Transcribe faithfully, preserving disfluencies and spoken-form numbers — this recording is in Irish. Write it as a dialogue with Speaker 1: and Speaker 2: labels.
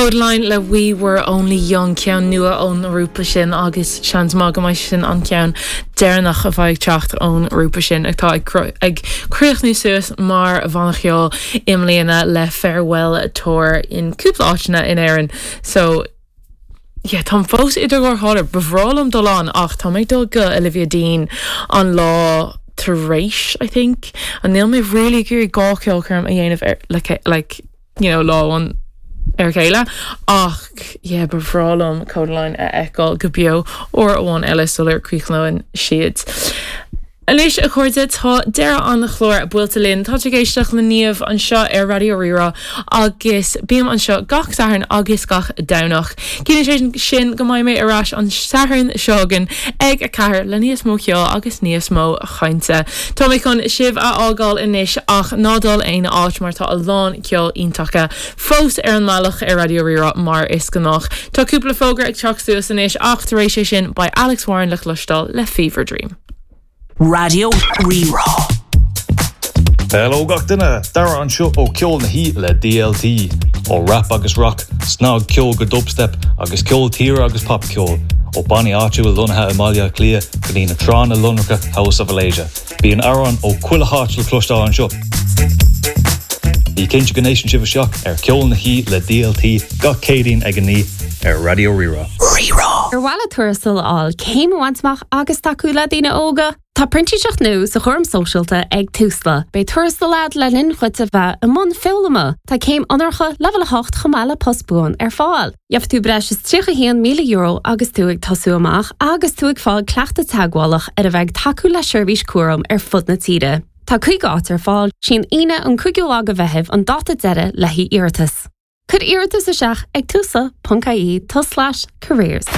Speaker 1: Kodaline le We Were Only Young ceann nua ón ngrúpa sin agus seans maith go mbeidh sin an ceann deireanach a bheidh ag teacht ón ngrúpa sin atá ag ag críochnú suas mar bhanna ceoil i mbliana le farewell tour in cúpla áiteanna in Éirinn. So Yeah, Tá fós idir dhá chomhairle ba bhreá liom dul ann ach tá mé ag dul go Olivia Dean an lá tar éis I think an níl mé really gur gá ceolchoirm a dhéanamh ar like, like you know, lá an ar chéile ach yeah, ba bhreá liom Kodaline a fheiceáil go beo uair amháin eile sular críochnóinn siad. Anois a chairde tá deireadh an chláir buailte linn tá ag éisteacht le Niamh anseo ar Raidió Rí-Rá agus bím anseo gach Satharn agus gach Domhnach. Ciallaíonn sé sin go mbeidh mé ar ais an Satharn seo chugainn ag a ceathair le níos mó ceoil agus níos mó cainte. Tá mé chun sibh a fhágáil anois ach ná dul aon áit mar tá a lán ceol iontach fós ar an mbealach ar Raidió Rí-Rá mar is gnách. Tá cúpla fógra ag teacht suas anois ach tar éis sé sin beidh Alex Warren le cloisteáil le Fever Dream.
Speaker 2: Raidió Rí-Rá.
Speaker 3: Hello gach duine Dara anseo ó Ceol na hOíche le DLT ó rap agus rock, snagcheol go dubstep agus ceol tíre agus popcheol ó bannaí áitiúil lonnaithe i mBaile Átha Cliath go dtí na tránna lonracha House of Malaysia. Bíonn amhráin ó chuile áit le cloisteáil anseo. Bí cinnte go n-éisteann sibh isteach ar Ceol na hOíche le DLT gach Céadaoin ag a naoi ar Raidió Rí-Rá.
Speaker 2: Rí-Rá.
Speaker 4: Ar mhaith leat tuarastal a fháil céim a bhaint amach agus tacú le daoine óga. Tá printíseacht nua sa chúram sóisialta ag Tusla. Beidh tuarastal agat le linn dhuit a bheith i mbun foghlama. Tá céim onóracha leibhéal a hocht chomh maith le post buan ar fáil. Gheobhaidh tú breis is tríocha haon míle euro agus tú ag tosú amach agus tú ag fáil cleachtadh teagmhálach ar a bheith tacú le seirbhís cúraim ar fud na tíre. Tá cúig áit ar fáil sin Aoine an cúigiú lá de Mheitheamh an dáta deiridh le iarratas. Cuir iarratas isteach ag tusla.ie tulslais careers.